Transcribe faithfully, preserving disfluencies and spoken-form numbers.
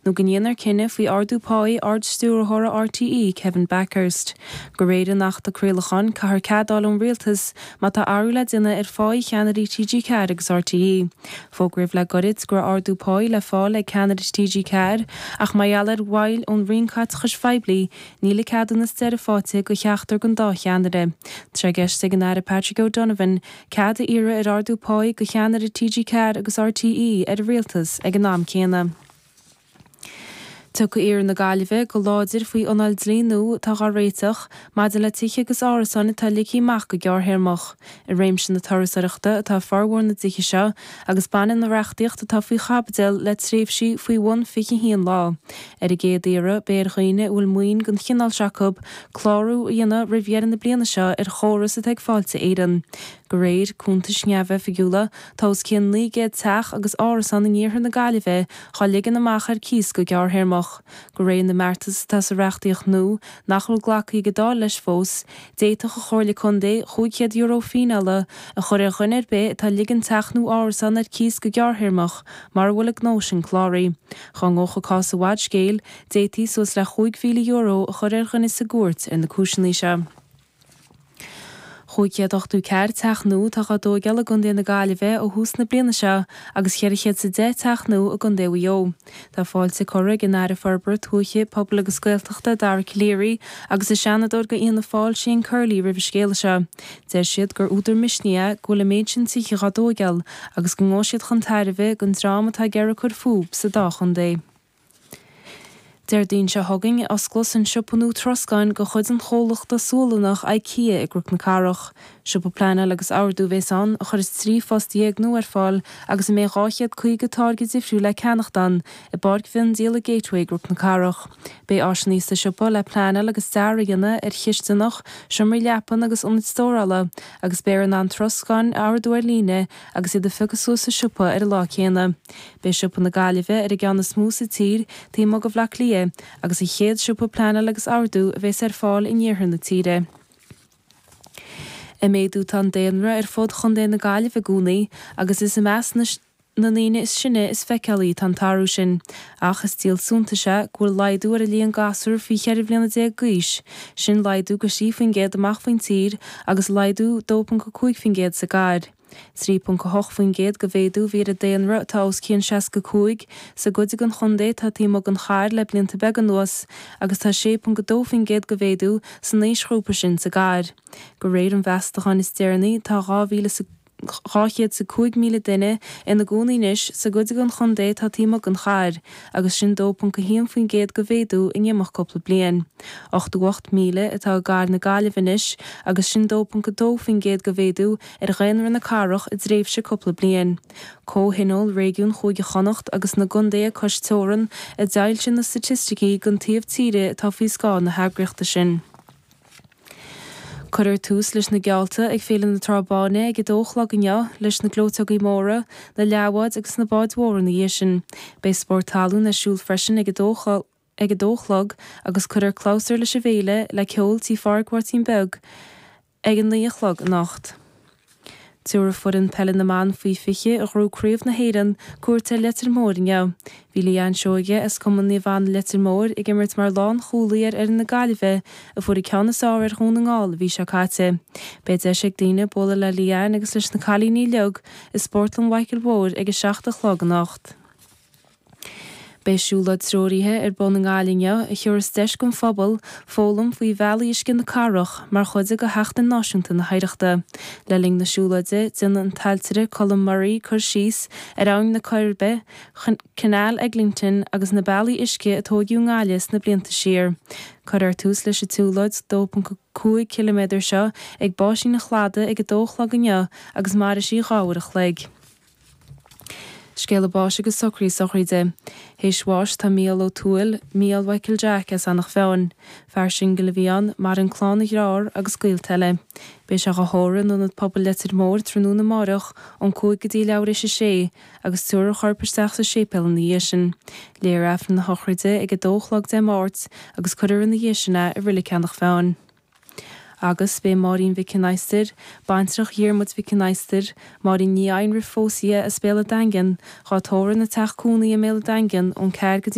nó go ndéanfar cinneadh faoi ardú páí Ard-Stiúrthóra RTÉ Kevin Bakhurst. De réir an Achta Craolacháin caithfear cead a fháil ón rialtas má tá athrú le déanamh ar pháí cheannairí TG Ceathair agus RTÉ. Fógraíodh le gairid go raibh ardú páí le fáil ag ceannaire TG Ceathair ach mar gheall ar mhoill ón Roinn Caiteachais Phoiblí níl an ceadúnas deiridh faighte do cheachtar den dá cheannaire. Tá sé i gceist ag an Aire Patrick O'Donovan cead a iarraidh ar ardú páí do cheannaire TG Ceathair agus RTÉ ar an rialtas ag an am céanna. Tiocfaidh iarthar na Gaillimhe go láidir faoi anáil dlí nua atá á réiteach maidir le tithe agus árasáin atá ligthe amach go gearrthéarmach. I réimse na turasóireachta atá formhór na dtithe seo agus baineann an reachtaíocht atá faoi chaibidil le tréimhsí faoi bhun fiche haon lá. Ar an gcéad iarraidh beidh ar dhaoine a bhfuil maoin den chineál seo acu clárú a dhéanamh roimh dheireadh na bliana seo ar chóras atá ag Fáilte Éireann. De réir cuntais neamhoifigiúla tá os cionn naoi gcéad teach agus árasán in iarthar na Gaillimhe á ligean amach ar cíos go gearrthéarmach. De réir na mbeartas atá sa reachtaíocht nua nach bhfuil glactha ag an Dáil leis fós, d'fhéadfadh an Chomhairle Contae cúig chéad euro fíneála a chur ar dhuine ar bith atá ag ligean teach nó árasán ar cíos go gearrthéarmach mura bhfuil an gnó sin cláraithe. Dá ngabhfadh an cás i bhfad scéil, d'fhéadfaí suas le chúig mhíle euro a chur ar dhuine sa gcúirt ar na cúiseanna seo. Chúig chéad ochtó ceathair teach nua atá á dtógáil i gContae na Gaillimhe ó thús na bliana seo agus ceithre chéad is a deich teach nua i gContae Mhaigh Eo. Tá fáilte curtha ag an Aire Forbartha Tuaithe, Pobail agus Gaeltachta Dara Calleary agus an Seanadóir do Fhianna Fáil Shane Curley roimh an scéala seo. Deir siad gur údar misnigh é go bhfuil an méid sin tithe á dtógáil agus go ngabhfaidh siad chun tairbhe don dream atá ag iarraidh cur fúthu sa dá chontae. Déardaoin seo chugainn osclós an siopa nua troscáin de chuid an chomhlachta Sualannach IKEA i gCnoc na Cathrach. Siopa pleanáil agus ordú a bheas ann a chuirfeas trí phost dhéag nua ar fáil agus a mbeidh dhá chéad caoga táirge difriúil le ceannacht ann i bPáirc Mhiondíola Gateway i gCnoc na Cathrach. Beidh áiseanna sa siopa le pleanáil agus dearadh a dhéanamh ar chisteanach, seomraí leapan agus ionaid stórála agus beifear in ann troscáin a ordú ar líne agus iad a phiocadh suas sa siopa ar an lá céanna. Beidh siopa na Gaillimhe ar an gceann is mó sa tír taobh amuigh de Bhaile Átha Cliath agus an chéad siopa pleanáil agus ordú a bheas ar fáil in iarthar na tíre. Ag méadú tá an daonra ar fud Chontae na Gaillimhe i gcónaí agus is i measc na na ndaoine is sine is feiceálaí atá an t-athrú sin, ach is díol suntais é go bhfuil laghdú ar an líon gasúr faoi cheithre bliana déag d'aois, sin laghdú de thrí faoin gcéad amach faoin tír agus laghdú dó ponc a cúig faoin gcéad sa gcathair. trí ponc a hocht faoin gcéad de mhéadú a bhí ar an daonra atá os cionn seasca cúig sa gcuid den chontae atá taobh amuigh den chathair le blianta beaga anuas agus tá sé ponc a dó faoin gcéad de mhéadú san aoisghrúpa sin sa gcathair. De réir an mheastacháin is deireanaí tá dhá mhíle is dhá chéad is a cúig míle duine ina gcónaí anois sa gcuid den chontae atá taobh amuigh den chathair agus sin dó ponc a haon faoin gcéad de mhéadú in imeacht cúpla bliain. Ochtó ocht míle atá i gcathair na Gaillimhe anois agus sin dó ponc a dó faoin gcéad de mhéadú ar dhaonra na cathrach i dtréimhse cúpla bliain. Comhthionól Réigiún Chúige Chonnacht agus na gcontaetha cois teorann a d'fhoilsigh na staitisticí don taobh tíre atá faoi scáth na heagraíochta sin. Cuirfear tús leis na geallta ag Féile na Trá Báine ag a dó a chlog inniu leis na gleoiteogaí móra, na leathbháid agus na báid mhóra ina dhiaidh sin. Beidh spórt talún ar siúl freisin ag a dó ag a dó a chlog agus cuirfear clabhsúr leis an bhféile le ceol tí Phádraig Mháirtín Beag ag a naoi a chlog anocht. Tabharfaidh foireann peile na mban faoi fiche a ghnóthaigh Craobh na hÉireann cuairt ar Leitir Móir inniu. Bhí Leanne Seoige as Cumann Naomh Anna Leitir Móir ag imirt mar lánchúlaí ar fhoireann na Gaillimhe a fuair an ceann is fearr ar Dhún na nGall an mhí seo caite. Beidh deis ag daoine bualadh le Leanne agus leis na cailíní uilig i Spórtlann Mhichael Mhóir ag a seacht a chlog anocht. Beidh siúlóid treoraithe ar bun i nGaillimh inniu a thabharfas deis don phobal foghlaim faoi bhealaí uisce na cathrach mar chuid de Sheachtain Náisiúnta na hOidhreachta. Le linn na siúlóide, déanfaidh an t-ailtire Colm Murray cur síos ar Abhainn na Coiribe, Canal Eglinton agus na bealaí uisce a tógadh i nGaillimh sna blianta siar. Cuirfear tús leis an tsiúlóid dó ponc cúig ciliméadar seo ag Báisín an Chladaigh ag a dó a chlog inniu agus mairfidh sí dhá uair a chloig. Scéala báis agus socraí sochraide. Théis bháis tá Mícheál Ó Tuathail, Mícheál Mhichael Jack as Eanach Mheáin. Fear singil a bhí ann, maireann clann a dhearthár agus gaolta eile. Beidh sé á thórramh in Ionad Pobail Leitir Móir tráthnóna amárach ón cúig go dtí leathuair éis a sé agus tabharfar a chorp isteach sa séipéal ina dhiaidh sin. Léifear Aifreann na sochraide ag a dó a chlog Dé Máirt agus cuirfear ina dhiaidh sin é i Reilig Eanach Mheáin. Agus beidh Máirín Mhic an Adhastair, baintreach Dhiarmuid Mhic an Adhastair, Máirín Ní Einrif phós Dhia as Béal a' Daingean, dhá tórramh ina teach cónaí i mBéal a' Daingean ón ceathair go dtí